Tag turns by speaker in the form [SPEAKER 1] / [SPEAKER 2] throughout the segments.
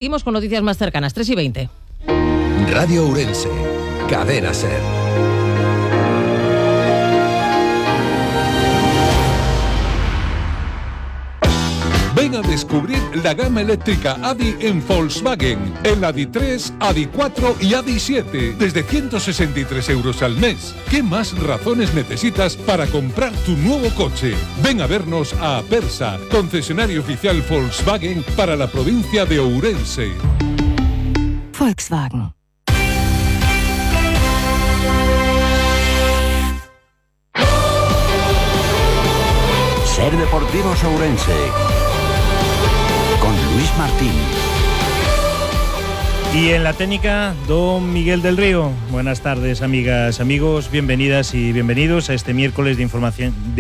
[SPEAKER 1] Seguimos con noticias más cercanas, 3:20.
[SPEAKER 2] Radio Ourense, Cadena SER.
[SPEAKER 3] Ven a descubrir la gama eléctrica ADI en Volkswagen, en ADI 3, ADI 4 y ADI 7, desde 163 euros al mes. ¿Qué más razones necesitas para comprar tu nuevo coche? Ven a vernos a Apersa, concesionario oficial Volkswagen para la provincia de Ourense.
[SPEAKER 4] Volkswagen.
[SPEAKER 5] Ser Deportivos Ourense con Luis Martín.
[SPEAKER 6] Y en la técnica, don Miguel del Río. Buenas tardes, amigas, amigos, bienvenidas y bienvenidos a este miércoles de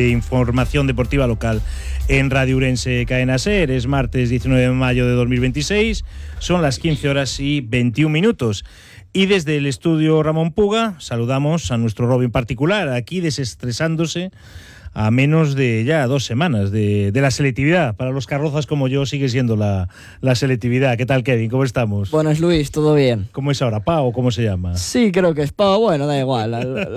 [SPEAKER 6] información deportiva local en Radio Ourense Cadena SER. Es martes 19 de mayo de 2026, son las 15 horas y 21 minutos. Y desde el estudio Ramón Puga saludamos a nuestro Robin particular, aquí desestresándose a menos de ya 2 semanas de la selectividad. Para los carrozas como yo sigue siendo la selectividad. ¿Qué tal, Kevin? ¿Cómo estamos?
[SPEAKER 7] Buenas, Luis, ¿todo bien?
[SPEAKER 6] ¿Cómo es ahora? ¿PA o cómo se llama?
[SPEAKER 7] Sí, creo que es PA, bueno, da igual.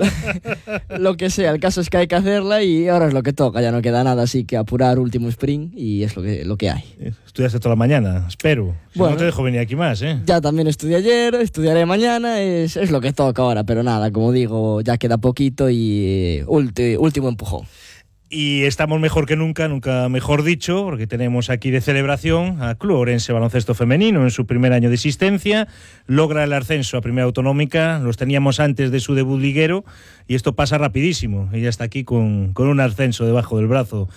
[SPEAKER 7] Lo que sea, el caso es que hay que hacerla y ahora es lo que toca, ya no queda nada, así que apurar último sprint y es lo que hay.
[SPEAKER 6] Estudiaste toda la mañana, espero. Si
[SPEAKER 7] bueno,
[SPEAKER 6] no te dejo venir aquí más, ¿eh?
[SPEAKER 7] Ya también estudié ayer, estudiaré mañana, es lo que toca ahora, pero nada, como digo, ya queda poquito y último empujón.
[SPEAKER 6] Y estamos mejor que nunca mejor dicho, porque tenemos aquí de celebración a Club Ourense Baloncesto Femenino en su primer año de existencia. Logra el ascenso a Primera Autonómica, los teníamos antes de su debut liguero y esto pasa rapidísimo. Ella está aquí con un ascenso debajo del brazo.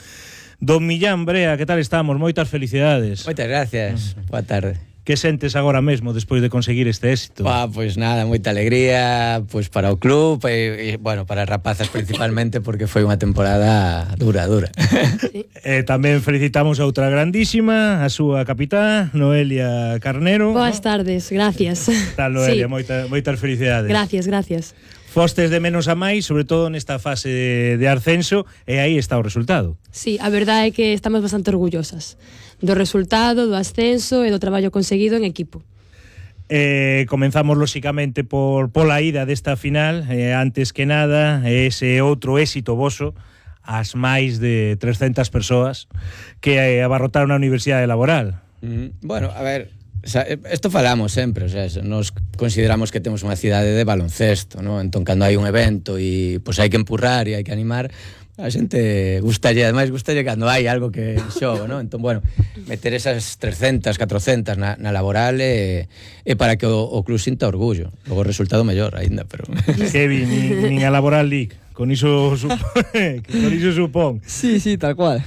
[SPEAKER 6] Don Millán Brea, ¿qué tal estamos? Moitas felicidades.
[SPEAKER 8] Moitas gracias, boa tarde.
[SPEAKER 6] Que sentes agora mesmo despois de conseguir este éxito?
[SPEAKER 8] Pois nada, moita alegría pois para o club e bueno, para as rapazas principalmente porque foi unha temporada dura.
[SPEAKER 6] Tamén felicitamos a outra grandísima, a súa capitá, Noelia Carnero.
[SPEAKER 9] Boas tardes, gracias.
[SPEAKER 6] Tal, Noelia,
[SPEAKER 9] sí.
[SPEAKER 6] moitas felicidades.
[SPEAKER 9] Gracias.
[SPEAKER 6] Fostes de menos a máis, sobre todo nesta fase de ascenso, e aí está o resultado.
[SPEAKER 9] Sí, a verdade é que estamos bastante orgullosas do resultado, do ascenso e do traballo conseguido en equipo.
[SPEAKER 6] Comenzamos lóxicamente pola ida desta final, antes que nada ese outro éxito voso, as máis de 300 persoas que abarrotaron a Universidade Laboral.
[SPEAKER 8] Bueno, a ver, esto falamos sempre, o sea, nos consideramos que temos unha cidade de baloncesto, ¿no? Entón, cando hai un evento e pois hai que empurrar e hai que animar, a xente gustalle, ademais gustalle cando hai algo que xogo, ¿no? Entón, bueno, meter esas 300, 400 na laboral é para que o club sinta orgullo. Logo o resultado mellor aínda, pero...
[SPEAKER 6] Kevin, nin a Laboral League, con iso supón.
[SPEAKER 7] Sí, tal cual.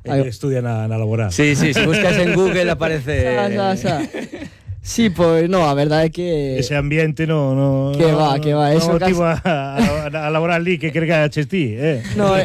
[SPEAKER 6] Estudia na Laboral.
[SPEAKER 8] Sí, se buscas en Google aparece...
[SPEAKER 7] Sí, pois no, a verdade é que...
[SPEAKER 6] Ese ambiente no
[SPEAKER 7] Que va, eso
[SPEAKER 6] casi... a Laboral League que cregaches ti,
[SPEAKER 7] No,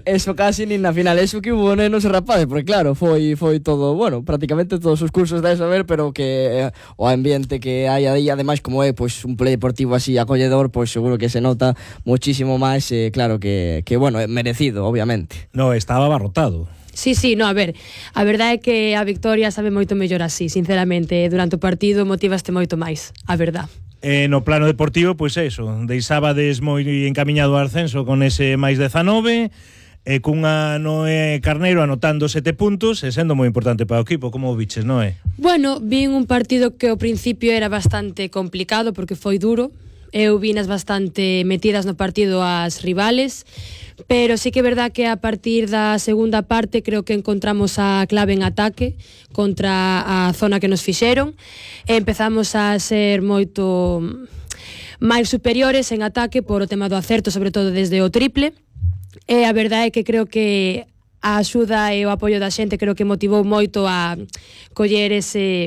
[SPEAKER 7] eso casi nin na final, eso que hubo nenos e rapazes, porque claro, foi todo, bueno, prácticamente todos os cursos de saber, pero que o ambiente que hai aí, ademais como é pois un polideportivo así acolledor, pois seguro que se nota muchísimo máis, claro que bueno, é merecido, obviamente.
[SPEAKER 6] No, estaba abarrotado.
[SPEAKER 9] Sí, no, a ver, a verdade é que a victoria sabe moito mellor así, sinceramente, durante o partido motivaste moito máis, a verdade.
[SPEAKER 6] No plano deportivo, pois eso, deixabades moi encamiñado ao ascenso con ese máis 19, cunha Noé Carneiro anotando 7 puntos e sendo moi importante para o equipo. Como o viches, Noé?
[SPEAKER 9] Bueno, vin un partido que ao principio era bastante complicado porque foi duro. Eu vinas bastante metidas no partido as rivales, pero sí que é verdad que a partir da segunda parte creo que encontramos a clave en ataque contra a zona que nos fixeron e empezamos a ser moito máis superiores en ataque por o tema do acerto, sobre todo desde o triple, e a verdade é que creo que a axuda e o apoio da xente creo que motivou moito a coller esa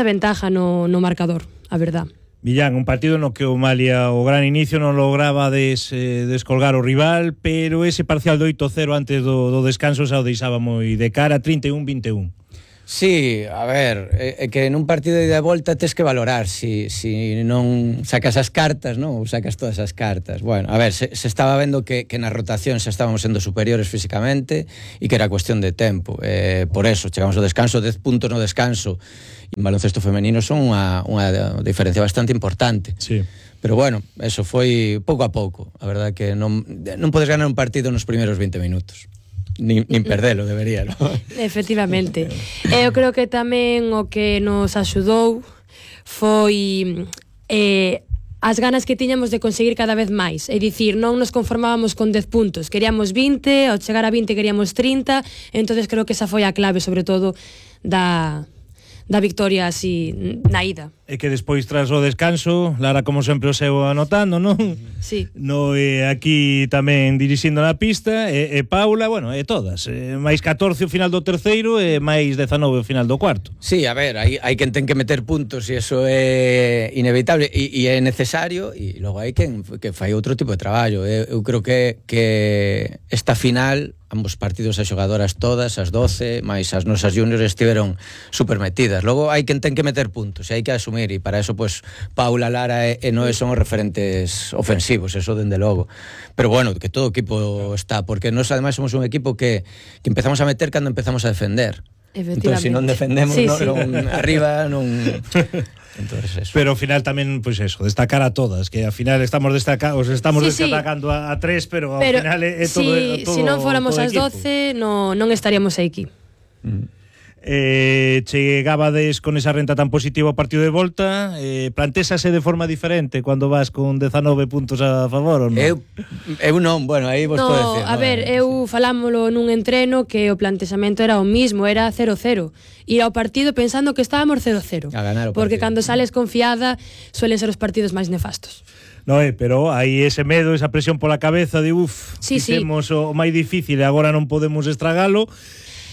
[SPEAKER 9] ventaja no marcador, a verdade.
[SPEAKER 6] Millán, un partido no que o Malia o gran inicio non lograba descolgar o rival, pero ese parcial do 8-0 antes do descanso xa o deixaba moi de cara, 31-21.
[SPEAKER 8] Sí, a ver, é que nun partido de ida e volta tes que valorar si non sacas as cartas, non? Ou sacas todas as cartas. Bueno, a ver, se estaba vendo que na rotación xa estábamos sendo superiores físicamente e que era cuestión de tempo. Por eso, chegamos ao descanso, 10 puntos no descanso e en baloncesto femenino son unha diferencia bastante importante.
[SPEAKER 6] Sí.
[SPEAKER 8] Pero bueno, eso foi pouco a pouco. A verdade que non podes ganar un partido nos primeiros 20 minutos. Nin perdelo, debería, ¿no?
[SPEAKER 9] Efectivamente. Eu creo que tamén o que nos axudou foi as ganas que tiñamos de conseguir cada vez máis. É dicir, non nos conformábamos con 10 puntos, queríamos 20, ao chegar a 20 queríamos 30, entonces creo que esa foi a clave, sobre todo, da victoria así na ida.
[SPEAKER 6] E que despois tras o descanso, Lara como sempre o seu anotando, non?
[SPEAKER 9] Sí.
[SPEAKER 6] No, aquí tamén dirixindo na pista, e Paula, bueno, e todas, máis 14 o final do terceiro e máis 19 o final do cuarto.
[SPEAKER 8] Sí, a ver, hai quen ten que meter puntos e eso é inevitable e é necesario, e logo hai quen que fai outro tipo de traballo. Eu creo que esta final, ambos partidos as xogadoras todas, as 12, máis as nosas juniors estiveron super metidas. Logo hai quen ten que meter puntos e hai que asumir, e para eso pues Paula, Lara e Noé son os referentes ofensivos, eso dende logo. Pero bueno, que todo o equipo está, porque nós ademais somos un equipo que empezamos a meter cando empezamos a defender. Entón, se non defendemos, sí, non arriba, non... Entonces, eso.
[SPEAKER 6] Pero ao final tamén, pois eso, destacar a todas, que ao final estamos destacando a tres, pero ao final é todo
[SPEAKER 9] si non fóramos as 12, non estaríamos aquí.
[SPEAKER 6] Chegabades con esa renta tan positiva ao partido de volta, plantésase de forma diferente cando vas con 19 puntos a favor ou non?
[SPEAKER 8] Eu non, bueno, aí vos podo decir.
[SPEAKER 9] A ver, eu falámolo nun entreno que o plantexamento era o mismo, era 0-0. Ir ao partido pensando que estábamos 0-0.
[SPEAKER 8] A ganar o partido.
[SPEAKER 9] Porque cando sales confiada suelen ser os partidos máis nefastos.
[SPEAKER 6] No, pero hai ese medo, esa presión pola cabeza de fixemos o máis difícil e agora non podemos estragalo.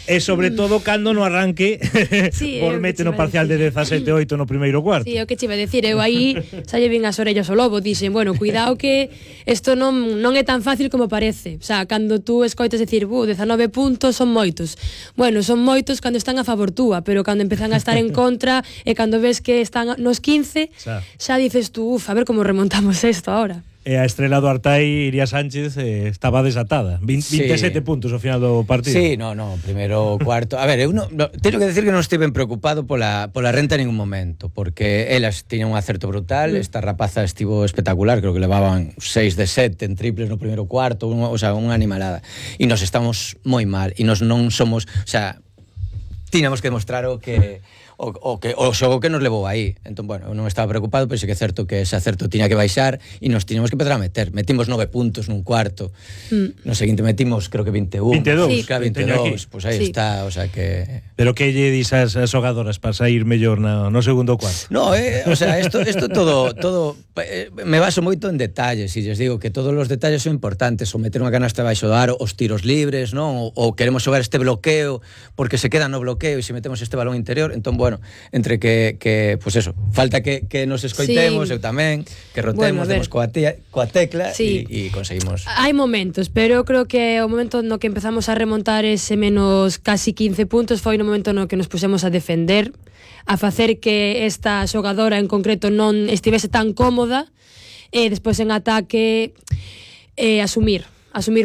[SPEAKER 6] E sobre todo cando no arranque por mete no parcial de 17-8 no primeiro cuarto.
[SPEAKER 9] Sí, o que che iba a decir, eu aí xa lle vin as orellas ao lobo, dixen, bueno, cuidado que isto non é tan fácil como parece. O sea, cando tú escoitas decir, 19 puntos son moitos. Bueno, son moitos cando están a favor túa, pero cando empezan a estar en contra e cando ves que están nos 15, xa dices tú, a ver como remontamos isto ahora.
[SPEAKER 6] E a estrela do Artai, Iria Sánchez, estaba desatada. 27 puntos ao final do partido.
[SPEAKER 8] Sí, no, primeiro cuarto. A ver, eu teño que decir que non estive preocupado pola renta en ningún momento, porque elas tiñan un acerto brutal, esta rapaza estivo espectacular, creo que levaban 6 de 7 en triples no primeiro cuarto, o sea, unha animalada. E nos estamos moi mal, e nos non somos, o sea, tiñamos que demostrar o xogo que nos levou aí. Entón, bueno, eu non estaba preocupado, pero sí que é certo que ese acerto tiña que baixar e nos tiñamos que empezar a meter. Metimos 9 puntos nun cuarto. No seguinte metimos, creo que 21.
[SPEAKER 6] 22.
[SPEAKER 8] Claro, 22. Pues aí está, o sea que...
[SPEAKER 6] Pero que lle dis as xogadoras para sair mellor no segundo cuarto?
[SPEAKER 8] No, o sea, esto todo me baso moito en detalles, e lles digo que todos os detalles son importantes, o meter unha canasta baixo do aro, os tiros libres, non? Ou queremos xogar este bloqueo porque se queda no bloqueo e se metemos este balón interior, entón, bueno, entre que pues eso, falta que nos escoitemos, eu tamén, que rotemos, demos coa tecla e conseguimos.
[SPEAKER 9] Hai momentos, pero eu creo que o momento no que empezamos a remontar ese menos casi 15 puntos foi no momento no que nos pusemos a defender, a facer que esta xogadora en concreto non estivese tan cómoda, e despois en ataque asumir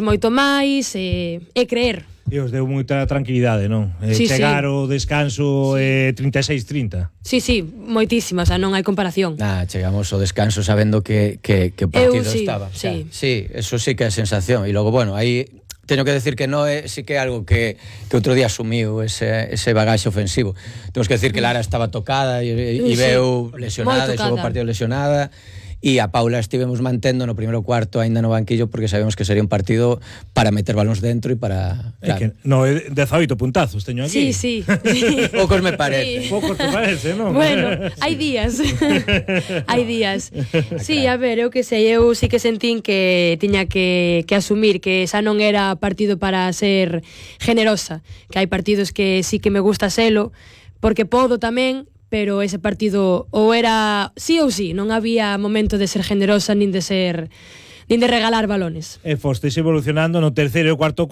[SPEAKER 9] moito máis e creer.
[SPEAKER 6] E os deu moita tranquilidade, non? Chegar o descanso 36-30.
[SPEAKER 9] Sí, moitísima, o sea, non hai comparación.
[SPEAKER 8] Chegamos ao descanso sabendo que o partido estaba. Sí, eso sí que é a sensación. E logo, bueno, aí teño que decir que Noé sí que é algo que outro día asumiu ese bagaxe ofensivo. Temos que decir que Lara estaba tocada e veu lesionada, e xogou o partido lesionada. E a Paula estivemos mantendo no primeiro cuarto aínda no banquillo porque sabemos que sería un partido para meter balóns dentro e para...
[SPEAKER 6] Claro. No, 18 puntazos teño aquí.
[SPEAKER 9] Sí.
[SPEAKER 8] Poucos me parece.
[SPEAKER 6] Poucos te parece, non?
[SPEAKER 9] Bueno, hai días. Hai días. Sí, a ver, eu que sei, eu sí que sentín que tiña que asumir que xa non era partido para ser generosa, que hai partidos que sí que me gusta selo, porque podo tamén, pero ese partido ou era sí ou sí, non había momento de ser generosa nin de ser nin de regalar balones.
[SPEAKER 6] E fostes evolucionando no terceiro e cuarto,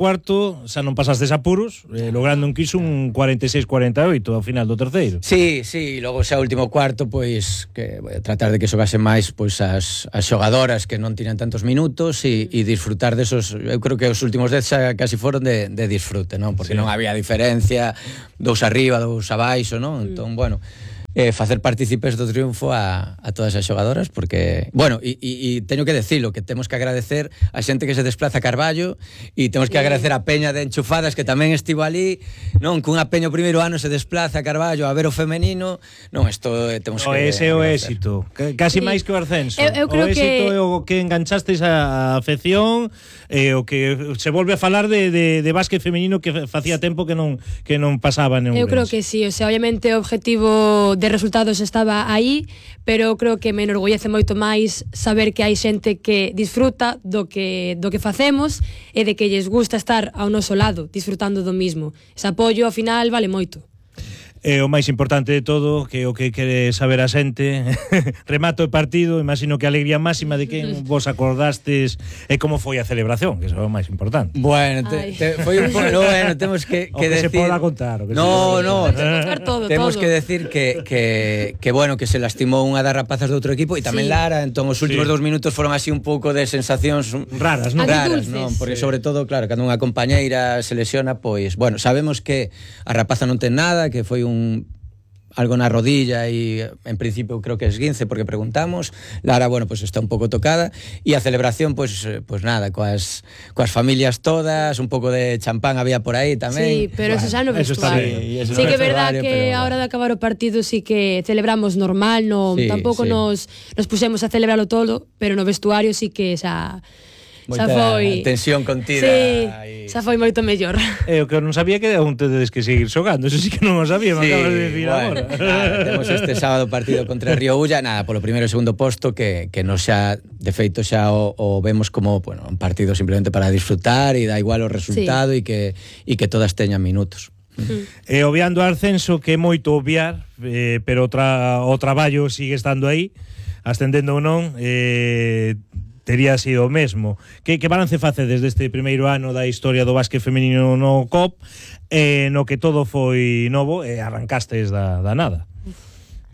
[SPEAKER 6] xa non pasastes apuros, logrando un quiso un 46-48 ao final do terceiro.
[SPEAKER 8] Sí, logo xa último cuarto, pois que voy a tratar de que xogase máis pois as xogadoras que non tiñan tantos minutos e disfrutar desos, eu creo que os últimos 10 xa casi foron de disfrute, non? Porque non había diferencia, 2 arriba, 2 abaixo, non? Entón, bueno, facer partícipes do triunfo a todas as xogadoras, porque, bueno, e teño que decirlo, que temos que agradecer a xente que se desplaza a Carballo e temos que agradecer a peña de Enchufadas que tamén estivo ali, non, cunha peña o primeiro ano se desplaza a Carballo a ver o femenino, non, isto temos que
[SPEAKER 6] ese é o éxito, casi máis que o ascenso.
[SPEAKER 9] Eu
[SPEAKER 6] o
[SPEAKER 9] creo
[SPEAKER 6] éxito é o que enganchastes a afección, o que se volve a falar de básquet femenino que facía tempo que non pasaba en Ourense.
[SPEAKER 9] Eu creo que sí, o sea, obviamente o objetivo de resultados estaba aí, pero creo que me enorgullece moito máis saber que hai xente que disfruta do que facemos e de que lles gusta estar ao noso lado, disfrutando do mismo. Ese apoio, ao final, vale moito.
[SPEAKER 6] E o máis importante de todo, que o que quere saber a xente, remato o partido, imagino que a alegría máxima de que vos acordastes e como foi a celebración, que é o máis importante.
[SPEAKER 8] Bueno, foi un pouco, bueno, temos que
[SPEAKER 6] decir...
[SPEAKER 8] se
[SPEAKER 6] poda contar.
[SPEAKER 8] No,
[SPEAKER 9] temos
[SPEAKER 8] que decir que bueno, que se lastimou unha das rapazas do outro equipo e tamén Lara, entón os últimos 2 minutos foron así un pouco de sensacións
[SPEAKER 6] raras, non?
[SPEAKER 8] Raras, non? Porque sobre todo, claro, cando unha compañeira se lesiona, pois, bueno, sabemos que a rapaza non ten nada, que foi algo na rodilla e en principio creo que es esguince porque preguntamos. Lara, bueno, pues está un pouco tocada e a celebración, pues nada, coas familias todas, un pouco de champán había por aí tamén.
[SPEAKER 9] Sí, pero eso xa no vestuario. Sí que é verdad que a hora de acabar o partido sí que celebramos normal, tampouco nos puxemos a celebralo todo, pero no vestuario sí que xa foi
[SPEAKER 8] tensión contida.
[SPEAKER 9] Sí, xa foi moito mellor.
[SPEAKER 6] O que eu non sabía que aún tedes que seguir xogando, eso sí que non o sabía, me acabas de decir agora.
[SPEAKER 8] Temos este sábado partido contra Río Ulla, nada, polo primeiro e segundo posto que nos xa, de feito xa o vemos como, bueno, un partido simplemente para disfrutar e da igual o resultado e que todas teñan minutos.
[SPEAKER 6] E obviando o ascenso, que é moito obviar, pero o traballo sigue estando aí, ascendendo ou non, tería sido o mesmo. Que balance facedes deste primeiro ano da historia do básquet femenino no COP, no que todo foi novo e arrancastes da nada?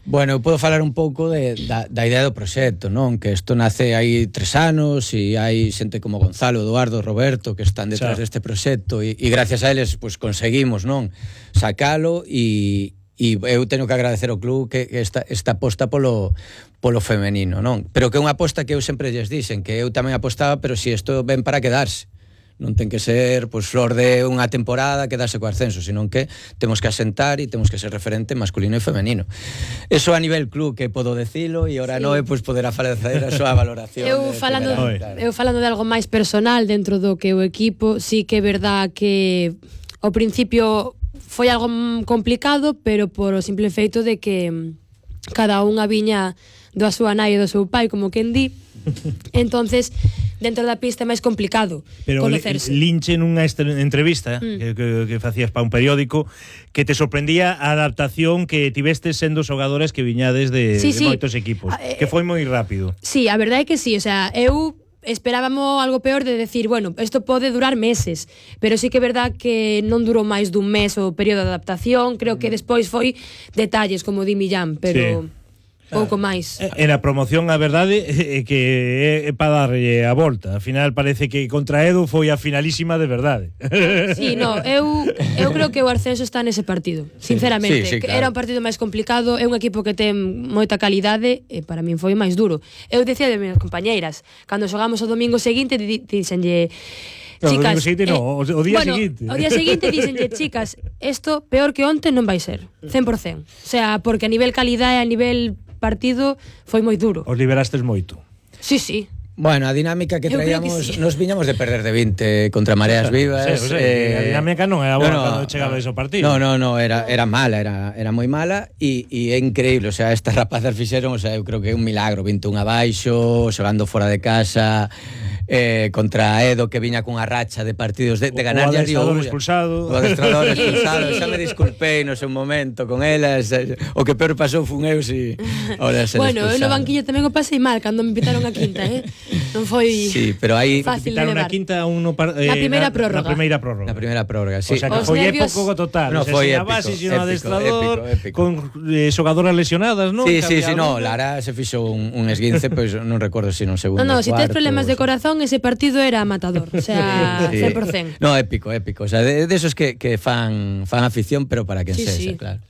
[SPEAKER 8] Bueno, eu podo falar un pouco da idea do proxecto, non? Que isto nace hai 3 anos e hai xente como Gonzalo, Eduardo, Roberto que están detrás deste proxecto e gracias a eles pues, conseguimos, non? Sacalo e eu teño que agradecer ao club que esta aposta polo femenino, non? Pero que é unha aposta que eu sempre lles dixen, que eu tamén apostaba, pero si isto ven para quedarse. Non ten que ser pues, flor de unha temporada quedarse co ascenso, senón que temos que asentar e temos que ser referente masculino e femenino. Eso a nivel club que podo decilo e ora Noé pues, poderá facer a súa valoración.
[SPEAKER 9] Eu falando de algo máis personal dentro do que o equipo, sí que é verdad que ao principio foi algo complicado, pero por o simple feito de que cada unha viña da súa nai e do seu pai, como quen di. Entonces, dentro da pista é máis complicado conocerse.
[SPEAKER 6] Pero linche nunha entrevista que facías para un periódico que te sorprendía a adaptación que tivestes sendo xogadores que viñades de moitos equipos, que foi moi rápido.
[SPEAKER 9] Sí, a verdade é que sí, o sea, eu esperábamos algo peor de decir, bueno, isto pode durar meses, pero sí que é verdad que non durou máis dun mes o período de adaptación, creo que despois foi detalles, como di Millán, pero pouco máis.
[SPEAKER 6] En a promoción, a verdade é que é para darlle a volta. Al final parece que contra Edu foi a finalísima de verdade.
[SPEAKER 9] Sí, no, eu creo que o ascenso está nese partido, sinceramente.
[SPEAKER 8] Sí, claro.
[SPEAKER 9] Era un partido máis complicado, é un equipo que ten moita calidade e para min foi máis duro. Eu decía de minhas compañeiras, cando xogamos o domingo seguinte, dixenlle chicas,
[SPEAKER 6] o día seguinte.
[SPEAKER 9] O día seguinte dixenlle, chicas, isto peor que onte non vai ser, 100%. O sea, porque a nivel calidade, a nivel partido foi moi duro.
[SPEAKER 6] Os liberastes moito.
[SPEAKER 9] Sí.
[SPEAKER 8] Bueno, a dinámica que traíamos, nos viñamos de perder de 20 contra Mareas Vivas.
[SPEAKER 6] A dinámica non era boa cando chegaba ese partido.
[SPEAKER 8] No, era mala, era moi mala e é increíble, o sea, estas rapazas fixeron, o sea, eu creo que é un milagro, 21 abaixo, xogando fora de casa, contra Edo que viña cunha racha de partidos de ganar a Río Ulla. O adestrador expulsado. Xa me disculpei no seu momento con elas, o que peor pasou fun eu si ahora se
[SPEAKER 9] bueno, eu no banquillo tamén o pasei mal cando me invitaron a quinta, Non foi
[SPEAKER 8] Sí, pero aí
[SPEAKER 9] fácil de
[SPEAKER 6] Quitaron
[SPEAKER 9] levar.
[SPEAKER 6] a quinta uno
[SPEAKER 9] Na primeira prórroga.
[SPEAKER 6] Na primeira prórroga.
[SPEAKER 8] na primeira prórroga, sí.
[SPEAKER 6] O sea, que
[SPEAKER 9] Os
[SPEAKER 6] foi
[SPEAKER 9] nervios-
[SPEAKER 6] épico total.
[SPEAKER 8] No,
[SPEAKER 6] O sea,
[SPEAKER 8] foi
[SPEAKER 6] sin a
[SPEAKER 8] épico,
[SPEAKER 6] base, sin o
[SPEAKER 8] épico,
[SPEAKER 6] adestrador,
[SPEAKER 8] épico.
[SPEAKER 6] con xogadoras lesionadas, non?
[SPEAKER 8] Sí,
[SPEAKER 6] Que
[SPEAKER 8] sí, sí,
[SPEAKER 6] había
[SPEAKER 8] no,
[SPEAKER 6] algo.
[SPEAKER 8] Lara se fixo un esguince, pois non recordo se non segundo.
[SPEAKER 9] No, si tes
[SPEAKER 8] cuarto,
[SPEAKER 9] problemas de corazón, ese partido era matador. O sea,
[SPEAKER 8] Sí.
[SPEAKER 9] 100%.
[SPEAKER 8] No, épico. O sea, de esos que fan afición, pero para quen
[SPEAKER 9] Sí,
[SPEAKER 8] sexa,
[SPEAKER 9] sí.
[SPEAKER 8] claro.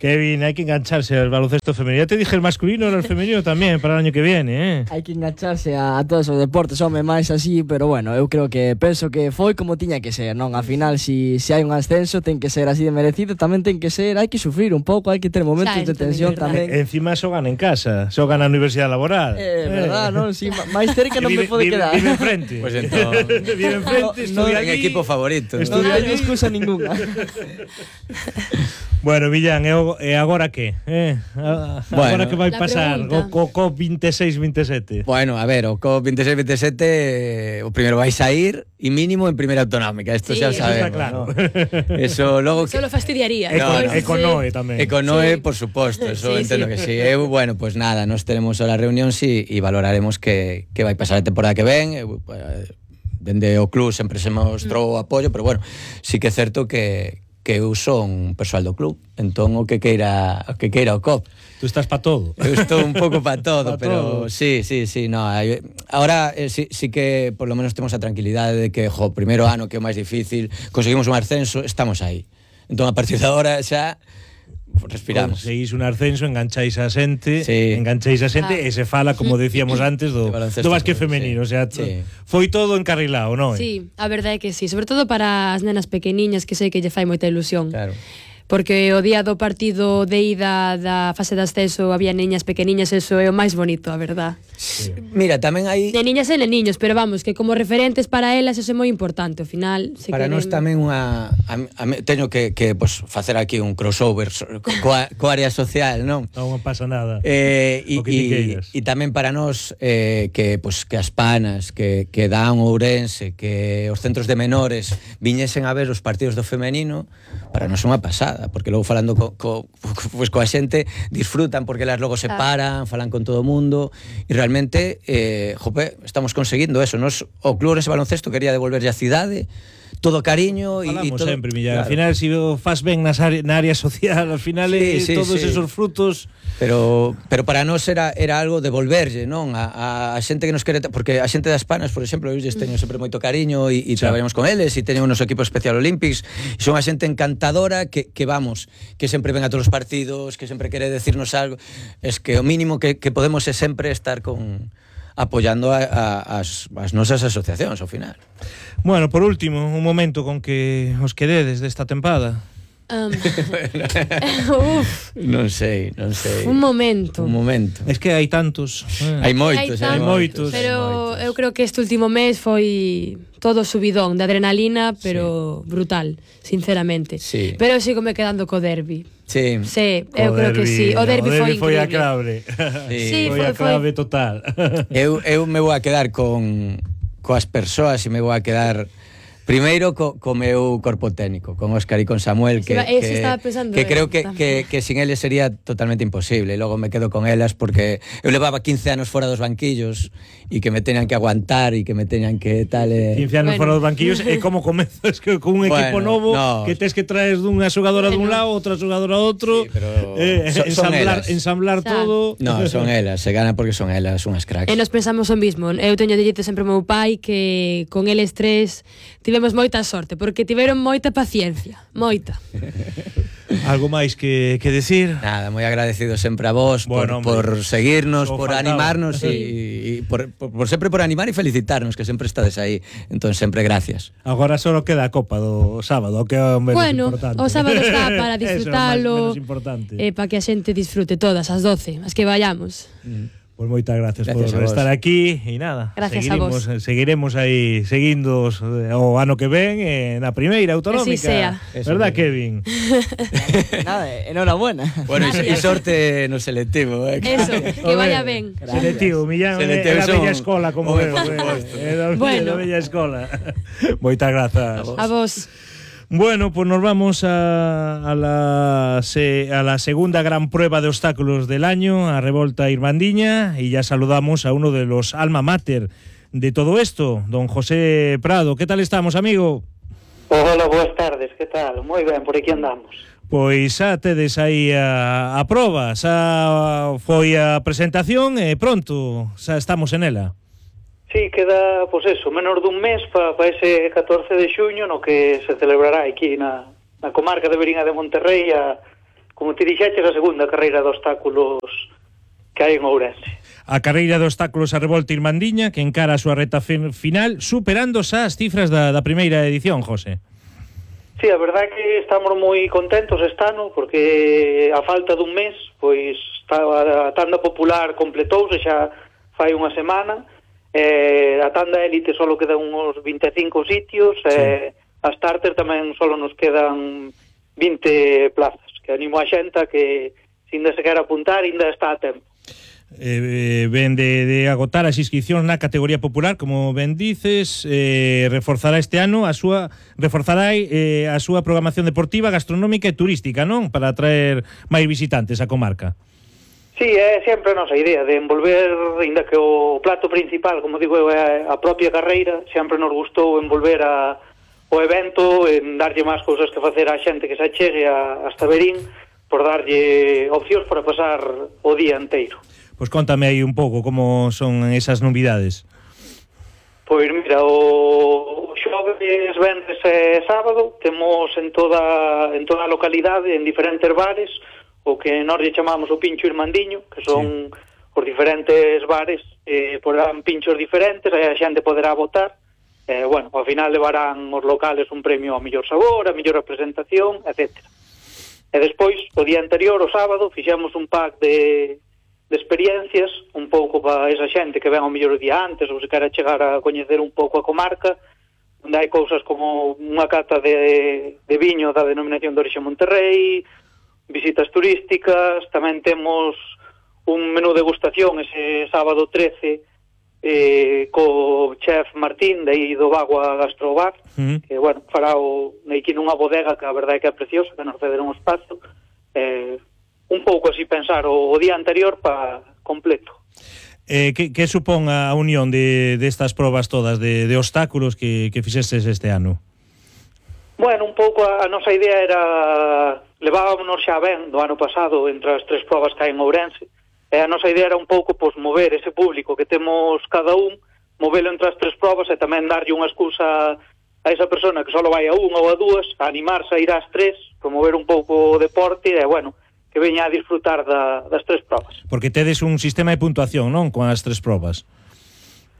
[SPEAKER 6] Kevin, hay que engancharse al baloncesto femenino. Ya te dije el masculino, ahora el femenino también para el año que viene, ¿eh?
[SPEAKER 7] Hai que engancharse a todos os deportes, home, máis así, pero bueno, eu creo que penso que foi como tiña que ser, non? Al final, si hai un ascenso, ten que ser así de merecido, tamén ten que ser, hai que sufrir un pouco, hai que ter momentos
[SPEAKER 9] Xa,
[SPEAKER 7] de
[SPEAKER 9] isto
[SPEAKER 7] tensión
[SPEAKER 9] é verdade.
[SPEAKER 7] tamén.
[SPEAKER 6] Encima xogan en casa, xogan na universidade laboral.
[SPEAKER 7] Verdad, non? Si, máis cerca non me pode quedar.
[SPEAKER 6] Vive enfrente.
[SPEAKER 8] Pues entón,
[SPEAKER 6] Vive enfrente,
[SPEAKER 7] No,
[SPEAKER 6] estudia
[SPEAKER 8] en
[SPEAKER 6] allí.
[SPEAKER 8] equipo favorito.
[SPEAKER 7] Non
[SPEAKER 6] Estudia
[SPEAKER 7] hai excusa ninguna.
[SPEAKER 6] Bueno, Millán, e agora que? Agora que vai
[SPEAKER 9] La
[SPEAKER 6] pasar
[SPEAKER 9] pregunta.
[SPEAKER 6] co COP26-27?
[SPEAKER 8] Bueno, a ver, o COP 26-27 o primeiro vais a ir e mínimo en primeira autonómica, esto
[SPEAKER 9] Sí,
[SPEAKER 8] xa
[SPEAKER 9] eso
[SPEAKER 8] sabemos,
[SPEAKER 6] está claro.
[SPEAKER 8] ¿no? Eso logo que
[SPEAKER 9] Solo fastidiaría.
[SPEAKER 6] Econoe tamén.
[SPEAKER 8] Econoe,
[SPEAKER 9] Sí.
[SPEAKER 8] por suposto, eso
[SPEAKER 9] Sí,
[SPEAKER 8] entendo
[SPEAKER 9] sí.
[SPEAKER 8] que sí. Eu, bueno, pues nada, nos teremos a la reunión e valoraremos que vai pasar a temporada que ven. Dende o club sempre se mostrou o apoio, pero bueno, sí que é certo que eu son persoal do club, entón o que queira o COP.
[SPEAKER 6] Tú estás para todo.
[SPEAKER 8] Eu estou un pouco para todo,
[SPEAKER 6] Pa todo.
[SPEAKER 8] pero sí, no. Ahora sí que por lo menos temos a tranquilidade de que, primeiro ano que é o máis difícil, conseguimos un ascenso, estamos aí. Entón a partir de agora xa respiramos.
[SPEAKER 6] Conseguís un ascenso, engancháis a xente,
[SPEAKER 8] Sí.
[SPEAKER 6] e se fala, como decíamos antes, do
[SPEAKER 8] De baloncesto,
[SPEAKER 6] básquet
[SPEAKER 8] sí.
[SPEAKER 6] femenino, o sea,
[SPEAKER 8] Sí.
[SPEAKER 6] foi todo encarrilado, non?
[SPEAKER 9] Sí, a verdade é que sí, sobre todo para as nenas pequeniñas que sei que lle fai moita ilusión.
[SPEAKER 8] Claro.
[SPEAKER 9] Porque o día do partido de ida da fase de ascenso había niñas pequeniñas, eso é o máis bonito, a verdad.
[SPEAKER 8] Mira, tamén hai
[SPEAKER 9] De niñas e de niños, pero vamos, que como referentes para elas eso é moi importante, ao final se
[SPEAKER 8] para
[SPEAKER 9] queren...
[SPEAKER 8] nós tamén teño que pues, facer aquí un crossover coa área social, non?
[SPEAKER 6] Non pasa nada.
[SPEAKER 8] E
[SPEAKER 6] O que ti queiras.
[SPEAKER 8] tamén para nós que as panas que dan o Ourense, que os centros de menores viñesen a ver os partidos do femenino, para nós é unha pasada, porque logo falando pues, coa xente disfrutan porque elas logo se paran, falan con todo o mundo e realmente estamos conseguindo eso. Nos, o Club Ourense Baloncesto quería devolverlle a cidade todo cariño e
[SPEAKER 6] Falamos
[SPEAKER 8] todo.
[SPEAKER 6] sempre, Millán.
[SPEAKER 8] Claro.
[SPEAKER 6] Al final, si o fas ben na área social, al final
[SPEAKER 8] Sí,
[SPEAKER 6] todos
[SPEAKER 8] sí.
[SPEAKER 6] esos frutos...
[SPEAKER 8] Pero para nós era algo devolverlle, non? A xente que nos quere, porque a xente das Panas, por exemplo, eu teño sempre moito cariño e traballamos con eles e teño unos equipos Special Olympics e son a xente encantadora que vamos, que sempre ven a todos os partidos, que sempre quere decirnos algo. Es que o mínimo que podemos é sempre estar apoyando as nosas asociacións ao final.
[SPEAKER 6] Bueno, por último, un momento con que os quededes desta tempada.
[SPEAKER 9] Uf,
[SPEAKER 8] Non sei.
[SPEAKER 9] un momento.
[SPEAKER 8] Un momento.
[SPEAKER 6] Es que hai tantos.
[SPEAKER 8] Hai moitos,
[SPEAKER 9] Hai
[SPEAKER 6] moitos.
[SPEAKER 9] Pero eu creo que este último mes foi todo subidón de adrenalina, pero brutal, sinceramente.
[SPEAKER 8] Sí.
[SPEAKER 9] Pero eu sigo me quedando co derbi.
[SPEAKER 8] Sí.
[SPEAKER 9] Sí, eu creo que sí. O derbi foi
[SPEAKER 6] a
[SPEAKER 9] increíble.
[SPEAKER 6] clave.
[SPEAKER 9] Sí,
[SPEAKER 6] foi a
[SPEAKER 9] foi.
[SPEAKER 6] clave total.
[SPEAKER 8] Eu me vou a quedar coas persoas e me vou a quedar primeiro co meu corpo técnico, con Óscar e con Samuel, que
[SPEAKER 9] estaba pensando
[SPEAKER 8] creo que
[SPEAKER 9] tamén.
[SPEAKER 8] sin eles sería totalmente imposible. E logo me quedo con elas porque eu levaba 15 anos fora dos banquillos e que me teñan que aguantar e que me teñan que tal...
[SPEAKER 6] 15 anos fora dos banquillos e como comezas que con un equipo novo que tes que traes dunha xogadora dun lado, outra xogadora do outro,
[SPEAKER 8] Sí, pero
[SPEAKER 6] ensamblar todo.
[SPEAKER 8] No, son elas, se gana porque son elas unhas cracks.
[SPEAKER 9] E nos pensamos o mismo. Eu teño dito sempre ao meu pai que con eles tres tivemos moita sorte, porque tiveron moita paciencia, moita.
[SPEAKER 6] Algo máis que decir?
[SPEAKER 8] Nada, moi agradecido sempre a vos
[SPEAKER 6] Bueno,
[SPEAKER 8] por seguirnos,
[SPEAKER 6] só
[SPEAKER 8] por
[SPEAKER 6] faltaba.
[SPEAKER 8] animarnos e por sempre por animar e felicitarnos, que sempre estades aí. Entón, sempre gracias.
[SPEAKER 6] Agora só queda a copa do sábado, que é o menos
[SPEAKER 9] Bueno,
[SPEAKER 6] importante.
[SPEAKER 9] o sábado está para
[SPEAKER 6] Eso é o
[SPEAKER 9] disfrutalo,
[SPEAKER 6] menos importante.
[SPEAKER 9] para que a xente disfrute todas as 12, as que vayamos.
[SPEAKER 6] Pois moitas gracias
[SPEAKER 8] Gracias
[SPEAKER 6] por
[SPEAKER 8] a vos.
[SPEAKER 6] estar aquí e nada,
[SPEAKER 9] Gracias a vos.
[SPEAKER 6] seguiremos aí seguindo o ano que ven na primeira autonómica.
[SPEAKER 9] Que así sea.
[SPEAKER 6] Verdad, Kevin?
[SPEAKER 7] Nada, enhorabuena.
[SPEAKER 8] Bueno, e sorte no selectivo,
[SPEAKER 9] Eso, que vaya ben.
[SPEAKER 6] Selectivo, Millán,
[SPEAKER 8] Selectivo
[SPEAKER 6] é da
[SPEAKER 8] son-
[SPEAKER 6] bella escola, como
[SPEAKER 8] Home,
[SPEAKER 6] eu.
[SPEAKER 8] por suposto.
[SPEAKER 6] É da
[SPEAKER 9] Bueno.
[SPEAKER 6] bella escola. Moitas grazas.
[SPEAKER 9] A vos.
[SPEAKER 6] Bueno, pues nos vamos a la segunda gran prueba de obstáculos del año, a Revolta Irmandiña, y ya saludamos a uno de los alma mater de todo esto, don José Prado. ¿Qué tal estamos, amigo?
[SPEAKER 4] Hola, boas tardes, que tal? Moi ben, por aquí andamos.
[SPEAKER 6] Pois xa tedes aí a proba, xa foi a presentación e pronto, xa estamos en ela.
[SPEAKER 4] Sí, queda, pois eso, menos dun mes para ese 14 de xuño no que se celebrará aquí na comarca de Verín de Monterrey como te dixeches, a segunda carreira de obstáculos que hai en Ourense.
[SPEAKER 6] A carreira de obstáculos a Revolta Irmandiña que encara a súa reta final superando xa as cifras da primeira edición, José.
[SPEAKER 4] Sí, a verdade é que estamos moi contentos este ano porque a falta dun mes pois a tanda popular completouse xa fai unha semana. A tanda élite só quedan uns 25 sitios, sí. A starter tamén só nos quedan 20 plazas, que animo a xenta que se ainda se quer apuntar ainda está a tempo.
[SPEAKER 6] Ben de agotar as inscripcións na categoría popular, como ben dices, reforzará este ano a súa programación deportiva, gastronómica e turística, non? Para atraer máis visitantes á comarca.
[SPEAKER 4] Sí, é sempre a nosa idea de envolver, ainda que o plato principal, como digo eu, é a propia carreira, sempre nos gustou envolver o evento, en darlle máis cousas que facer á xente que se achegue hasta Verín, por darlle opcións para pasar o día inteiro.
[SPEAKER 6] Pois contame aí un pouco como son esas novidades.
[SPEAKER 4] Pois mira, o xoves, venres e sábado temos en toda a localidade, en diferentes bares, o que nós lle chamamos o Pincho Irmandiño, que son os diferentes bares, porán pinchos diferentes, aí a xente poderá votar, bueno, ao final levarán os locales un premio ao mellor sabor, a mellor representación, etc. E despois, o día anterior, o sábado, fixemos un pack de experiencias, un pouco para esa xente que ven ao mellor o día antes, ou se quera chegar a coñecer un pouco a comarca, onde hai cousas como unha cata de viño da denominación de orixe Monterrey, visitas turísticas, tamén temos un menú degustación ese sábado 13 co chef Martín de aí do Bagua Gastrobar, que, bueno, fará aquí nunha bodega que a verdade é que é preciosa, que nos cederon un espazo, un pouco así pensar o día anterior para completo.
[SPEAKER 6] Que supón a unión destas probas todas de obstáculos que fixestes este ano?
[SPEAKER 4] Bueno, un pouco a nosa idea era levábamos xa ben do ano pasado entre as tres probas que hai en Ourense, e a nosa idea era un pouco mover ese público que temos cada un, movelo entre as tres probas e tamén darlle unha excusa a esa persona que só vai a unha ou a dúas, a animarse a ir ás tres, promover un pouco o deporte e, bueno, que veña a disfrutar das tres probas.
[SPEAKER 6] Porque tedes un sistema de puntuación, non? Con as tres probas.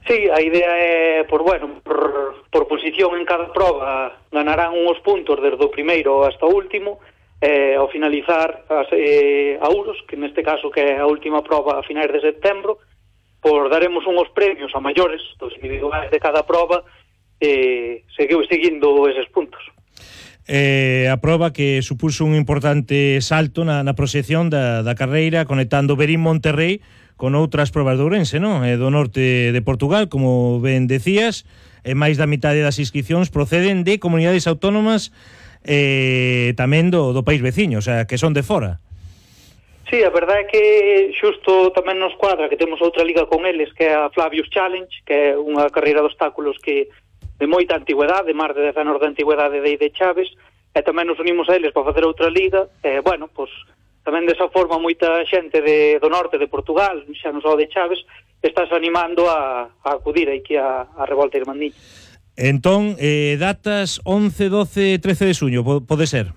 [SPEAKER 4] Sí, a idea é, por posición en cada proba ganarán uns puntos desde o primeiro hasta o último, ao finalizar a Ouros, que neste caso que é a última proba a finais de setembro, daremos uns premios a maiores dos individuais de cada proba e seguiu seguindo eses puntos.
[SPEAKER 6] A proba que supuso un importante salto na proxección da carreira, conectando Verín Monterrey con outras probas de Ourense, non? Do norte de Portugal, como ben decías, e máis da mitade das inscripcións proceden de comunidades autónomas tamén do país veciño, o sea, que son de fora.
[SPEAKER 4] Sí, a verdade é que xusto tamén nos cuadra que temos outra liga con eles, que é a Flavius Challenge, que é unha carreira de obstáculos que de moita antigüedade, máis de 10 anos de antigüedade de Chaves, e tamén nos unimos a eles para facer outra liga, e, bueno, pois tamén desa forma moita xente do norte de Portugal, xa non só de Chaves, estás animando a acudir aquí a Revolta Irmandiña.
[SPEAKER 6] Entón, datas 11, 12, 13 de xuño, pode ser?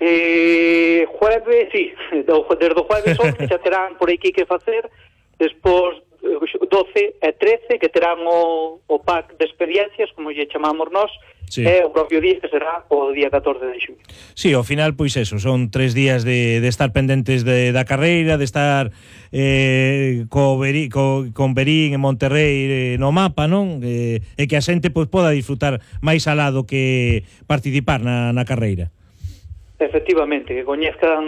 [SPEAKER 4] Jueves, sí, desde o jueves 11 xa terán por aquí que facer, despois 12 e 13 que terán o pack de experiencias, como lle chamamos nós, sí. E o propio día que será o día 14 de xuño.
[SPEAKER 6] Sí, ao final, pois eso, son 3 días de estar pendentes da carreira, de estar con Verín e Monterrey no mapa, non? E que a xente poda disfrutar máis alado que participar na carreira.
[SPEAKER 4] Efectivamente, que coñezcan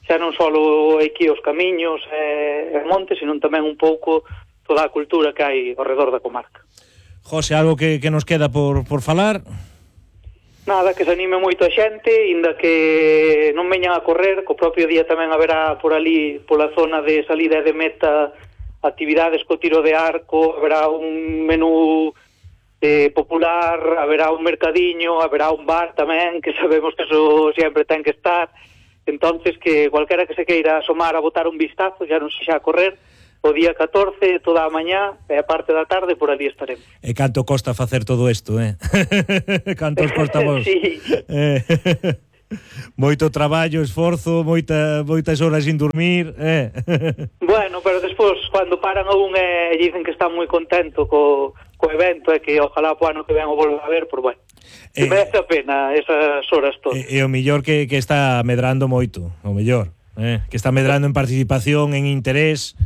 [SPEAKER 4] xa non só aquí os camiños e montes, sino tamén un pouco toda a cultura que hai ao redor da comarca.
[SPEAKER 6] José, algo que nos queda por falar?
[SPEAKER 4] Nada, que se anime moito a xente, inda que non veñan a correr, co propio día tamén haberá por ali, pola zona de salida e de meta, actividades co tiro de arco, haberá un menú popular, haberá un mercadiño, haberá un bar tamén, que sabemos que eso sempre ten que estar. Entonces, que cualquera que se queira asomar a botar un vistazo, ya non se xa a correr, o día 14, toda a mañá e a parte da tarde, por ali estaremos.
[SPEAKER 6] E canto costa facer todo isto, Canto os costa vos?
[SPEAKER 4] Sí.
[SPEAKER 6] Moito traballo, esforzo, moitas horas sin dormir,
[SPEAKER 4] Bueno, pero despois, cando paran a un e dicen que están moi contento co evento e que ojalá po ano que ven o volva a ver, por bueno. Merece a pena esas horas todas.
[SPEAKER 6] E o mellor que está medrando moito, o mellor, que está medrando en participación, en interés,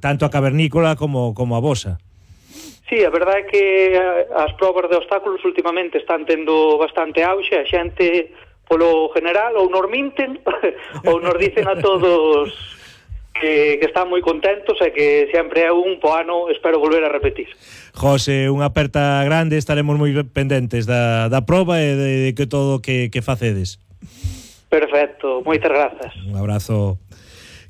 [SPEAKER 6] tanto a cavernícola como a vosa.
[SPEAKER 4] Sí, a verdade é que as probas de obstáculos últimamente están tendo bastante auxe, a xente polo general ou nos minten ou nos dicen a todos que están moi contentos e que sempre é un po ano, espero volver a repetir.
[SPEAKER 6] José, unha aperta grande, estaremos moi pendentes da proba e de que todo que facedes.
[SPEAKER 4] Perfecto, moitas grazas.
[SPEAKER 6] Un abrazo.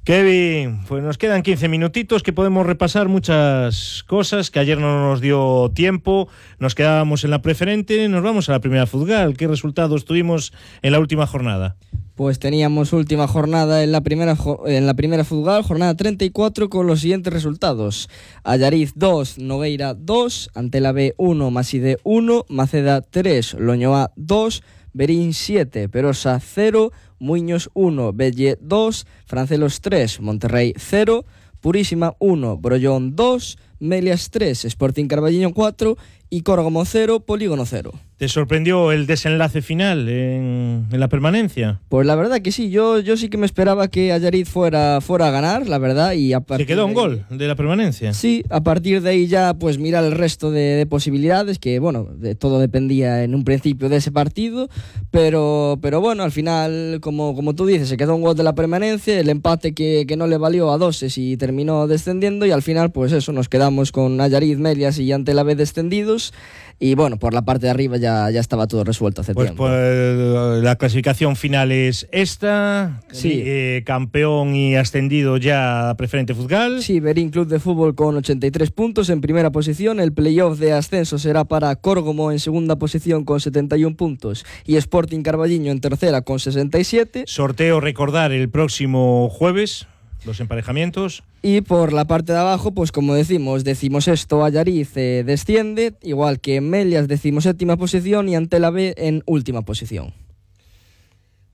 [SPEAKER 6] Kevin, pues nos quedan 15 minutitos que podemos repasar muchas cosas que ayer no nos dio tiempo. Nos quedábamos en la preferente, nos vamos a la primera Futgal. ¿Qué resultados tuvimos en la última jornada?
[SPEAKER 7] Pues teníamos última jornada en la primera Futgal, jornada 34, con los siguientes resultados: Allariz 2, Nogueira 2, Antela B 1, Maside 1, Maceda 3, Loñoa 2, Berín 7, Perosa 0, Muiños 1, Belle 2, Francelos 3, Monterrey 0, Purísima 1, Brollón 2, Melias 3, Sporting Carballiño 4 y Córgomo 0, Polígono 0.
[SPEAKER 6] ¿Te sorprendió el desenlace final en la permanencia?
[SPEAKER 7] Pues la verdad que sí, yo sí que me esperaba que Allariz fuera a ganar, la verdad, y a partir
[SPEAKER 6] ¿Se quedó
[SPEAKER 7] de
[SPEAKER 6] un gol de la permanencia?
[SPEAKER 7] Sí, a partir de ahí ya pues mirar el resto de posibilidades, que bueno, todo dependía en un principio de ese partido, pero bueno, al final, como tú dices, se quedó un gol de la permanencia, el empate que no le valió a Doses y terminó descendiendo, y al final pues eso, nos quedamos con Allariz, Melias y Antela B descendidos. Y bueno, por la parte de arriba ya estaba todo resuelto hace tiempo.
[SPEAKER 6] Pues la clasificación final es esta.
[SPEAKER 7] Sí.
[SPEAKER 6] Campeón y ascendido ya a preferente Futgal.
[SPEAKER 7] Sí, Berín Club de Fútbol con 83 puntos en primera posición. El playoff de ascenso será para Córgomo en segunda posición con 71 puntos y Sporting Carballiño en tercera con 67.
[SPEAKER 6] Sorteo, recordar, el próximo jueves, los emparejamientos.
[SPEAKER 7] Y por la parte de abajo, pues como decimos, 16º Allariz desciende, igual que Melias 17ª posición y Antela B en última posición.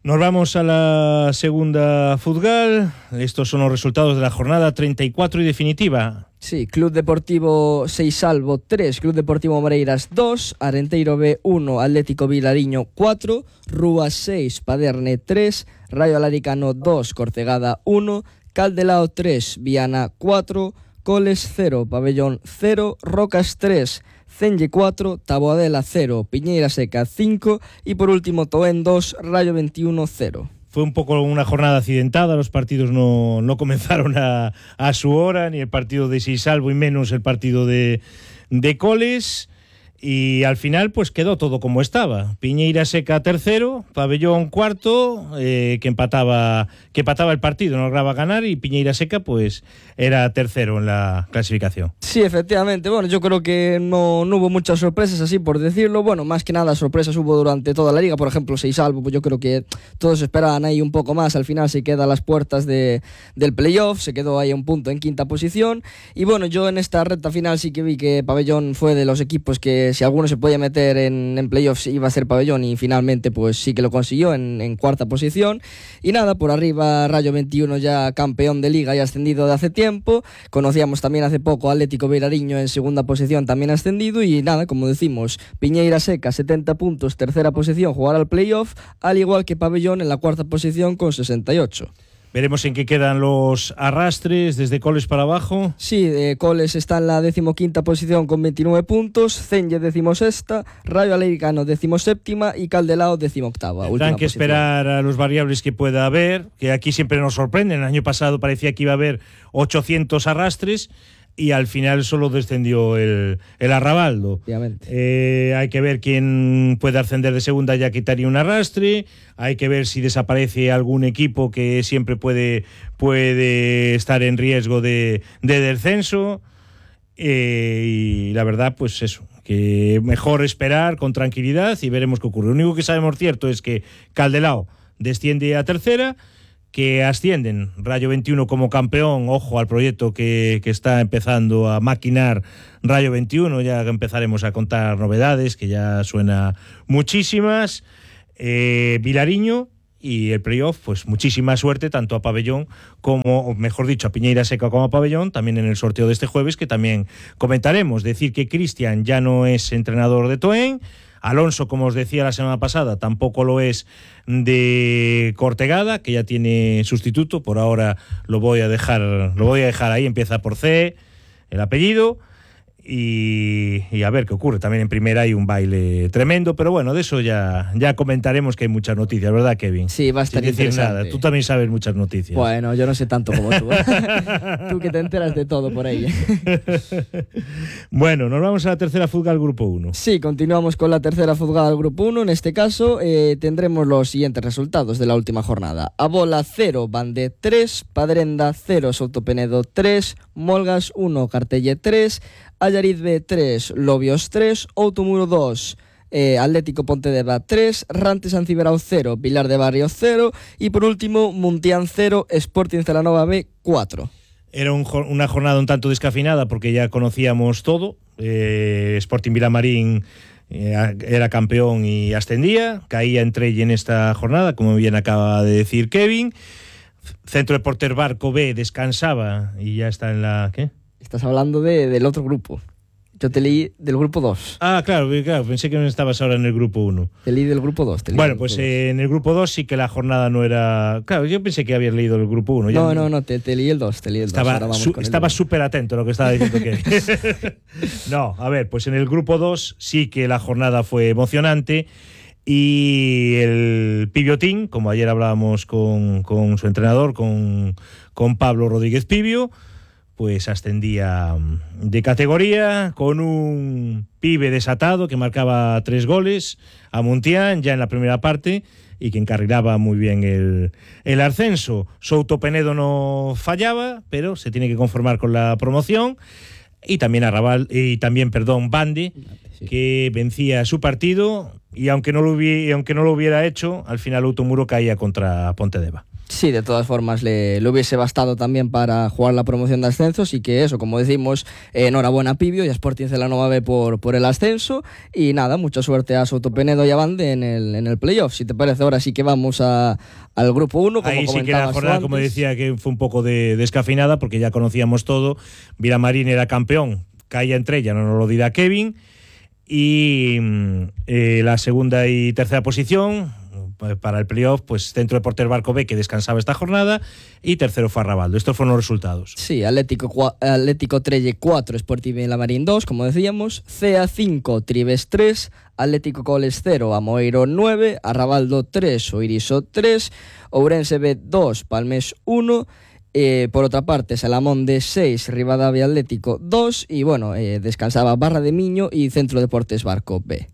[SPEAKER 6] Nos vamos a la segunda Futgal. Estos son los resultados de la jornada 34 y definitiva.
[SPEAKER 7] Sí, Club Deportivo Seisalvo 3, Club Deportivo Moreiras 2, Arenteiro B 1, Atlético Vilariño 4, Rúas 6, Paderne 3, Rayo Alaricano 2, Cortegada 1, Caldelao 3, Viana 4, Coles 0, Pabellón 0, Rocas 3, Cenge 4, Taboadela 0, Piñeira Seca 5 y por último Toén 2, Rayo 21 0.
[SPEAKER 6] Fue un poco una jornada accidentada, los partidos no comenzaron a su hora, ni el partido de Seisalvo y menos el partido de Coles. Y al final pues quedó todo como estaba. Piñeira Seca tercero, Pabellón cuarto, que empataba el partido, no lograba ganar, y Piñeira Seca pues era tercero en la clasificación.
[SPEAKER 7] Sí, efectivamente. Bueno, yo creo que no hubo muchas sorpresas, así por decirlo. Bueno, más que nada sorpresas hubo durante toda la liga. Por ejemplo, Seisalvo, pues yo creo que todos esperaban ahí un poco más. Al final se queda a las puertas del playoff, se quedó ahí a un punto en quinta posición. Y bueno, yo en esta recta final sí que vi que Pabellón fue de los equipos que si alguno se podía meter en playoffs iba a ser Pabellón, y finalmente pues sí que lo consiguió en cuarta posición. Y nada, por arriba Rayo 21 ya campeón de liga y ascendido de hace tiempo. Conocíamos también hace poco Atlético Vilariño en segunda posición, también ascendido. Y nada, como decimos, Piñeira Seca 70 puntos, tercera posición, jugar al playoff, al igual que Pabellón en la cuarta posición con 68.
[SPEAKER 6] Veremos en qué quedan los arrastres desde Coles para abajo.
[SPEAKER 7] Sí, Coles está en la 15ª posición con 29 puntos, Cenge 16ª, Rayo Alaricano 17ª y Caldelao 18ª.
[SPEAKER 6] Tendrán que esperar a los variables que pueda haber, que aquí siempre nos sorprenden. El año pasado parecía que iba a haber 800 arrastres. y al final solo descendió el Arrabaldo. Hay que ver quién puede ascender de segunda, ya quitaría un arrastre. Hay que ver si desaparece algún equipo que siempre puede estar en riesgo de descenso. Y la verdad, pues eso, que mejor esperar con tranquilidad y veremos qué ocurre. Lo único que sabemos cierto es que Caldelao desciende a tercera, que ascienden Rayo 21 como campeón. Ojo al proyecto que está empezando a maquinar Rayo 21, ya empezaremos a contar novedades, que ya suena muchísimas. Vilariño y el playoff, pues muchísima suerte tanto a Pabellón como, o mejor dicho, a Piñeira Seca como a Pabellón, también en el sorteo de este jueves, que también comentaremos. Decir que Cristian ya no es entrenador de Toen, Alonso, como os decía la semana pasada, tampoco lo es de Cortegada, que ya tiene sustituto. Por ahora lo voy a dejar ahí, empieza por C el apellido. Y a ver qué ocurre. También en primera hay un baile tremendo, pero bueno, de eso ya comentaremos, que hay muchas noticias, ¿verdad, Kevin?
[SPEAKER 7] Sí, va a estar interesante.
[SPEAKER 6] Nada. Tú también sabes muchas noticias.
[SPEAKER 7] Bueno, yo no sé tanto como tú. Tú que te enteras de todo por ahí.
[SPEAKER 6] Bueno, nos vamos a la tercera fuga al Grupo 1.
[SPEAKER 7] Sí, continuamos con la tercera fuga al Grupo 1. En este caso tendremos los siguientes resultados de la última jornada. Abola 0, Bande 3, Padrenda 0, Sotopenedo 3, Molgas 1, Cartelle 3, Allariz B 3, Lobios 3, Outomuro 2, Atlético Pontedeva 3, Rante San Ciberao 0, Pilar de Barrio 0 y por último Muntián 0, Sporting Celanova B 4.
[SPEAKER 6] Era una jornada un tanto descafeinada porque ya conocíamos todo. Sporting Vilamarín era campeón y ascendía, caía entre ella en esta jornada, como bien acaba de decir Kevin. Centro Deportes Barco B descansaba y ya está en la... ¿qué?
[SPEAKER 7] Estás hablando del otro grupo. Yo te leí del grupo 2.
[SPEAKER 6] Ah, claro, pensé que no estabas ahora en el grupo 1.
[SPEAKER 7] Te leí del grupo 2.
[SPEAKER 6] Bueno, pues en el grupo 2 sí que la jornada no era... Claro, yo pensé que habías leído el grupo 1.
[SPEAKER 7] No, te leí el 2.
[SPEAKER 6] Estaba súper atento a lo que estaba diciendo que... No, a ver, pues en el grupo 2 sí que la jornada fue emocionante. Y el Pibiotín, como ayer hablábamos con su entrenador, con Pablo Rodríguez Pibio, pues ascendía de categoría con un pibe desatado que marcaba 3 goles a Muntián ya en la primera parte y que encarrilaba muy bien el ascenso. Souto Penedo no fallaba, pero se tiene que conformar con la promoción. Y también Bande, sí, que vencía su partido y aunque no lo hubiera hecho, al final Outomuro caía contra Pontedeva.
[SPEAKER 7] Sí, de todas formas le hubiese bastado también para jugar la promoción de ascensos y que eso, como decimos, enhorabuena a Pibio y a Sporting Celanova B por el ascenso y nada, mucha suerte a Sotopenedo y a Bande en el playoff. Si te parece, ahora sí que vamos al grupo 1, como
[SPEAKER 6] ahí
[SPEAKER 7] comentabas.
[SPEAKER 6] Sí que la jornada, como decía, que fue un poco descafeinada porque ya conocíamos todo. Vilamarín era campeón, caía entre ella, no nos lo dirá Kevin, y la segunda y tercera posición para el playoff, pues Centro Deportes Barco B, que descansaba esta jornada, y tercero fue Arrabaldo. Estos fueron los resultados.
[SPEAKER 7] Sí, Atlético Trelle 4, Sporting Vilamarín 2, como decíamos, CA 5, Tribes 3, Atlético Coles 0, Amoeiro 9, Arrabaldo 3, Oiriso 3, Ourense B 2, Palmés 1, por otra parte Salamón de 6, Rivadavia Atlético 2 y bueno, descansaba Barra de Miño y Centro Deportes Barco B.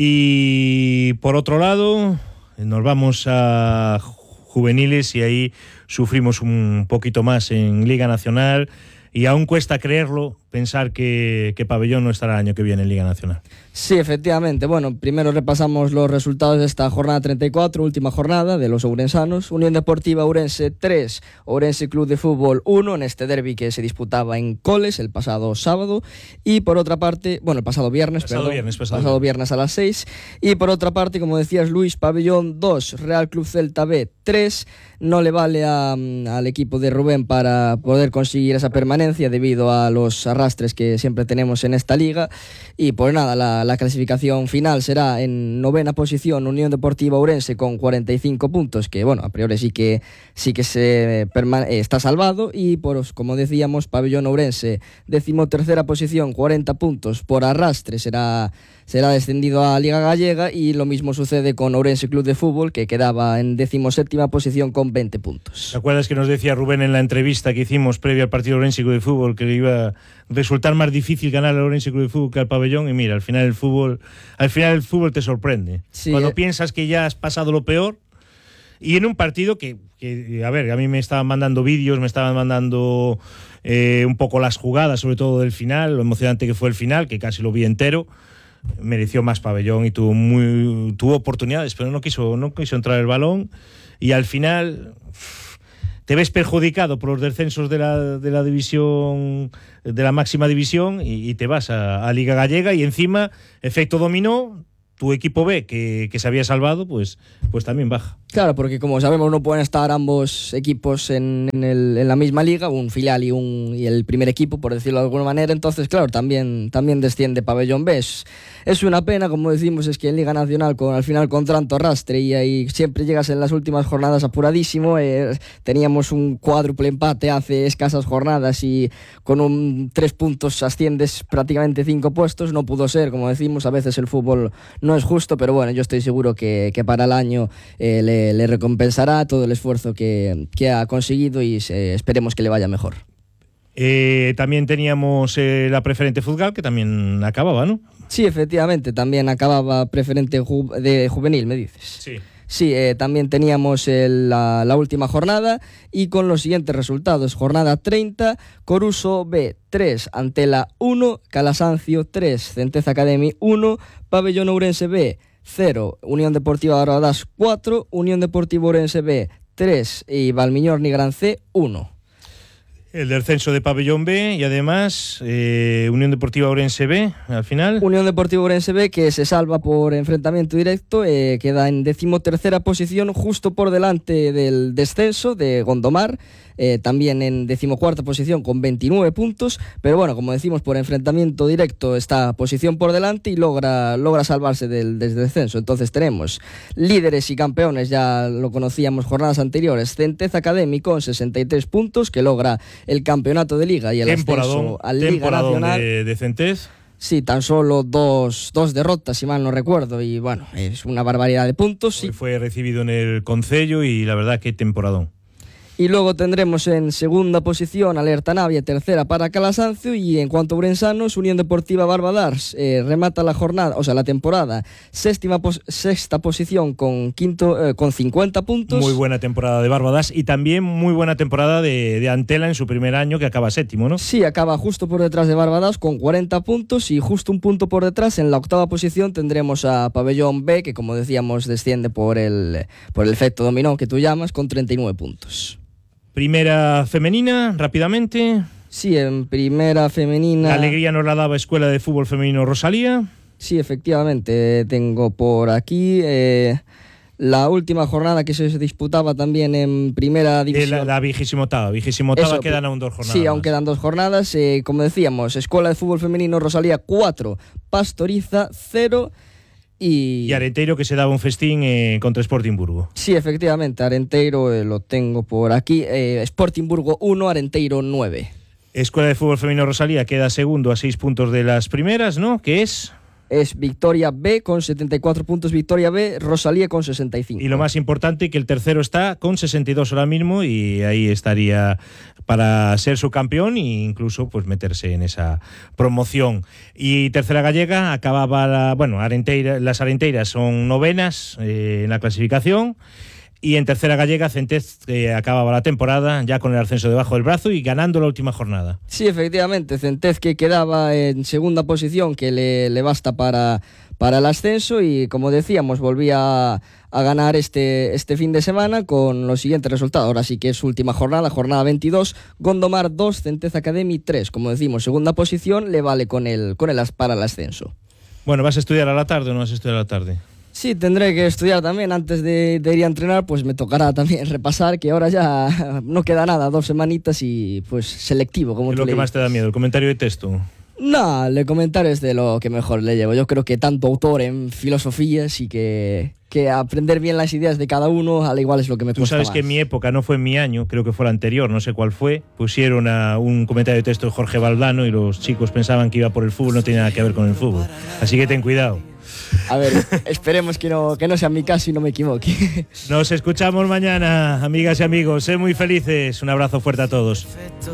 [SPEAKER 6] Y por otro lado, nos vamos a juveniles y ahí sufrimos un poquito más en Liga Nacional y aún cuesta creerlo, pensar que Pabellón no estará el año que viene en Liga Nacional.
[SPEAKER 7] Sí, efectivamente. Bueno, primero repasamos los resultados de esta jornada 34, última jornada de los ourensanos. Unión Deportiva Ourense 3, Ourense Club de Fútbol 1, en este derbi que se disputaba en Coles el pasado sábado. Y por otra parte, bueno, el pasado viernes a las 6. Y por otra parte, como decías Luis, Pabellón 2, Real Club Celta B 3. No le vale al equipo de Rubén para poder conseguir esa permanencia debido a los arrastres arrastres que siempre tenemos en esta liga. Y pues nada, la clasificación final será en 9ª posición Unión Deportiva Ourense con 45 puntos, que bueno, a priori sí que está salvado. Y pues, como decíamos, Pabellón Ourense 13ª posición, 40 puntos por arrastre, será descendido a Liga Gallega. Y lo mismo sucede con Ourense Club de Fútbol, que quedaba en 17ª posición con 20 puntos.
[SPEAKER 6] ¿Te acuerdas que nos decía Rubén en la entrevista que hicimos previa al partido Ourense Club de Fútbol que le iba a resultar más difícil ganar al Ourense Club de Fútbol que al Pabellón? Y mira, al final el fútbol te sorprende. Sí, cuando piensas que ya has pasado lo peor, y en un partido que a ver, a mí me estaban mandando vídeos, me estaban mandando un poco las jugadas, sobre todo del final, lo emocionante que fue el final, que casi lo vi entero. Mereció más Pabellón y tuvo oportunidades, pero no quiso entrar el balón, y al final te ves perjudicado por los descensos de la división, de la máxima división, y te vas a Liga Gallega, y encima efecto dominó. Tu equipo B, que se había salvado, pues también baja. Claro, porque como sabemos no pueden estar ambos equipos en la misma liga, un filial y el primer equipo, por decirlo de alguna manera. Entonces, claro, también desciende Pabellón B. Es una pena, como decimos, es que en Liga Nacional, al final con tanto arrastre, y ahí siempre llegas en las últimas jornadas apuradísimo. Teníamos un cuádruple empate hace escasas jornadas y con 3 puntos asciendes prácticamente 5 puestos. No pudo ser, como decimos, a veces el fútbol no es justo, pero bueno, yo estoy seguro que para el año le recompensará todo el esfuerzo que ha conseguido, y esperemos que le vaya mejor. También teníamos la preferente Fútbol, que también acababa, ¿no? Sí, efectivamente, también acababa preferente de juvenil, me dices. Sí. Sí, también teníamos la última jornada, y con los siguientes resultados: jornada 30, Coruso B 3, Antela 1, Calasancio 3, Centeza Academy 1, Pabellón Ourense B 0, Unión Deportiva Barbadas 4, Unión Deportiva Ourense B 3 y Valmiñor Nigrán C 1. El descenso de Pabellón B y además Unión Deportiva Ourense B al final. Unión Deportiva Ourense B, que se salva por enfrentamiento directo, queda en 13ª posición, justo por delante del descenso de Gondomar, también en 14ª posición con 29 puntos, pero bueno, como decimos, por enfrentamiento directo está posición por delante y logra salvarse del descenso. Entonces tenemos líderes y campeones, ya lo conocíamos jornadas anteriores, Centeza Academy con 63 puntos, que logra el campeonato de Liga y el ascenso a Liga Nacional. De Centez. Sí, tan solo dos derrotas, si mal no recuerdo, y bueno, es una barbaridad de puntos. Hoy fue recibido en el Concello y la verdad que temporadón. Y luego tendremos en segunda posición Alerta Navia, tercera para Calasancio, y en cuanto a ourensanos, Unión Deportiva Barbadars remata la temporada sexta posición con 50 puntos. Muy buena temporada de Barbadars y también muy buena temporada de Antela en su primer año, que acaba séptimo, ¿no? Sí, acaba justo por detrás de Barbadars con 40 puntos, y justo un punto por detrás en la octava posición tendremos a Pabellón B, que como decíamos desciende por el efecto dominó que tú llamas, con 39 puntos. Primera femenina, rápidamente. Sí, en primera femenina... La alegría nos la daba Escuela de Fútbol Femenino Rosalía. Sí, efectivamente, tengo por aquí la última jornada que se disputaba también en primera división. La 28ª, quedan aún 2 jornadas. Sí, aún quedan 2 jornadas. Como decíamos, Escuela de Fútbol Femenino Rosalía 4, Pastoriza 0... Y Arenteiro, que se daba un festín contra Sporting Burgo. Sí, efectivamente, Arenteiro lo tengo por aquí. Sporting Burgo 1, Arenteiro 9. Escuela de Fútbol Femenino Rosalía queda segundo a 6 puntos de las primeras, ¿no? ¿Qué es? Es Victoria B con 74 puntos, Victoria B, Rosalía con 65. Y lo más importante, que el tercero está con 62 ahora mismo, y ahí estaría para ser subcampeón e incluso pues meterse en esa promoción. Y tercera gallega acababa las Arenteiras son novenas en la clasificación. Y en tercera gallega, Centez acababa la temporada ya con el ascenso debajo del brazo y ganando la última jornada. Sí, efectivamente, Centez, que quedaba en segunda posición, que le basta para el ascenso, y como decíamos, volvía a ganar este fin de semana con los siguientes resultados. Ahora sí que es última jornada 22, Gondomar 2, Centez Academy 3. Como decimos, segunda posición le vale para el ascenso. Bueno, ¿vas a estudiar a la tarde o no vas a estudiar a la tarde?
[SPEAKER 7] Sí, tendré que estudiar también antes de ir a entrenar, pues me tocará también repasar, que ahora ya no queda nada, 2 semanitas y pues selectivo, como
[SPEAKER 6] ¿Qué es
[SPEAKER 7] tú
[SPEAKER 6] lo
[SPEAKER 7] le
[SPEAKER 6] que más
[SPEAKER 7] dices.
[SPEAKER 6] te da miedo? ¿El comentario de texto?
[SPEAKER 7] No, el comentario es de lo que mejor le llevo. Yo creo que tanto autor en filosofías y que aprender bien las ideas de cada uno, al igual es lo que me
[SPEAKER 6] Tú
[SPEAKER 7] cuesta
[SPEAKER 6] sabes
[SPEAKER 7] más.
[SPEAKER 6] que en mi época, no fue en mi año, creo que fue el anterior, no sé cuál fue, pusieron a un comentario de texto de Jorge Valdano y los chicos pensaban que iba por el fútbol, no tenía nada que ver con el fútbol. Así que ten cuidado.
[SPEAKER 7] A ver, esperemos que no sea mi caso y no me equivoque.
[SPEAKER 6] Nos escuchamos mañana, amigas y amigos. Sed muy felices. Un abrazo fuerte a todos.